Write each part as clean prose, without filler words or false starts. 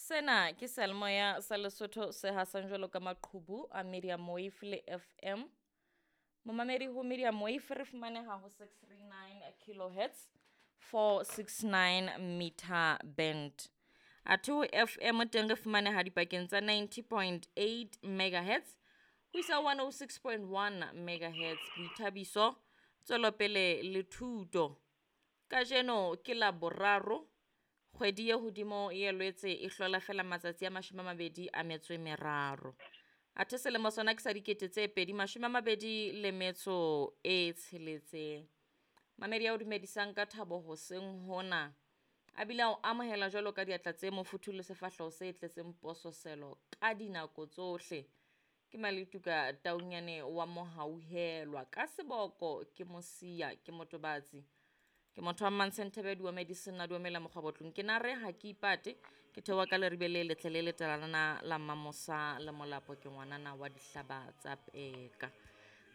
Sena ke seyalemoya sa Lesotho se hasang jwalo ka maqhubu a Medium Wave le FM. Momamedi ho Medium Wave re fumaneha ho 639 kilohertz 469 meter band. Athe ho FM teng re fumaneha dipakeng tsa 90.8 megahertz ho isa 106.1 megahertz. Boithabiso, tswelopele le thuto. Kajeno ke la boraro kgwedi ye hodimo ye Lwetse e hlola fela matsatsi a 23. Athe selemo sona ke sa 2026. Mamedi ya o dumedisang ka thabo hoseng hona. A bile a o amohela jwalo ka diatla tse mofuthu le sefahleho se tletseng pososelo ka dinako tsohle. Ke Maletuka Taunyane wa Mohauhelwa. Ka seboko ke Mosia, ke motobatsi. Ke motho wa Mmantshenthebe wa Medicine a duomela mokgwabotlong. Ke nare ha ke ipate, ke theoha ka leribe le letle le letalana la Mmamosa le Molapo, ke ngwanana wa dihlaba tsa peka.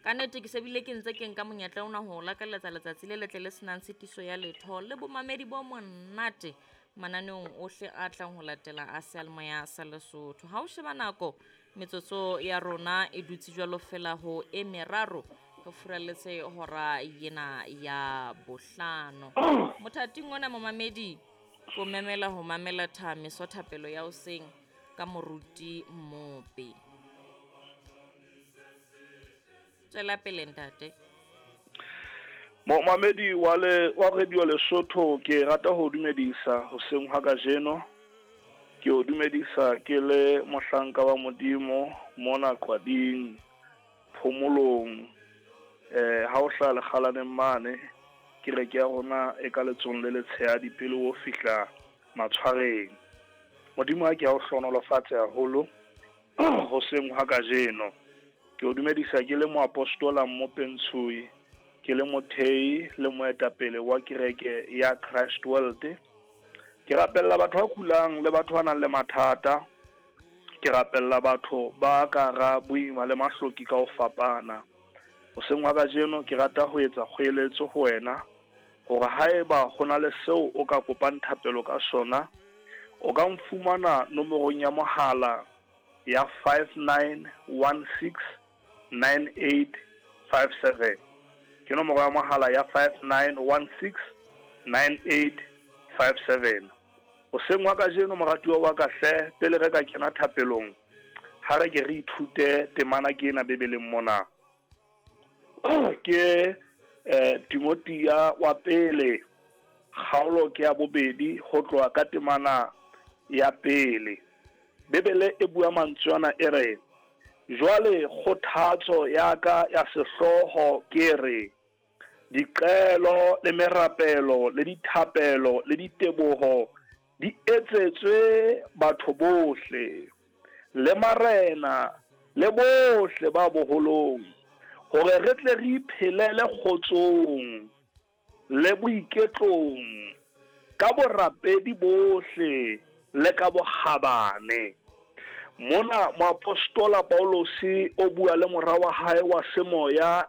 Ka nnete ke se bile ke ntse ke nka monyetla ona ho lakaletsa letsatsi le letle le senang tshitiso ya letho le bomamedi bo monate mananeong ohle a tlang ho latela a seyalemoya sa Lesotho. Ha o sheba nako, metsotso ya rona e dutse jwalo fela ho e meraro re furalletse hora yena ya bohlano. Mothating ona momamedi ko memela ho mamela thamiso thapelo ya hoseng ka moruti Mmope. Tswela pele ntate. Momamedi wa le wa Radio Lesotho ke rata ho dumedisa hoseng ha kajeno. Ke o dumedisa ke le mohlanka wa Modimo mona Qwading phomolong. Ha o hlaha lekgalaneng mane kereke ya rona e ka letsong le letshehadi pele o fihla matshwareng. Modimo a ke a o hlohonolofatse haholo hoseng ha kajeno. Ke o dumedisa ke le moapostola Mmope Ntshoi, ke le mothei le moetapele wa kereke ya Christ World. Ke rapella batho ba kulang le batho ba nang le mathata. Ke rapella batho ba ka hara boima le mahloki ka ho fapana. Hoseng wa kajeno ke rata ho etsa kgoeletso ho wena hore haeba ho na le seo o ka kopang thapelo ka sona, o ka nfumana nomorong ya mohala ya 59169857. Ke nomoro ya mohala ya 59169857. Hoseng wa kajeno moratuwa wa ka hle, pele re ka kena thapelong, ha re ke re ithute temana ke ena Bibeleng mona. Ke Timothea wa pele, kgaolo ke ya bobedi ho tloha ka temana ya pele. Bibele e bua mantswe ana e re, jwale kgothatso ya ka ya sehlooho ke re, diqelo le merapelo le dithapelo le diteboho di etsetswe batho bohle le marena le bohle ba boholong, hore re tle re iphelele kgotsong le boiketlong ka borapedi bohle le ka bokgabane. Mona moapostola Paulose o bua le mora wa hae wa semoya e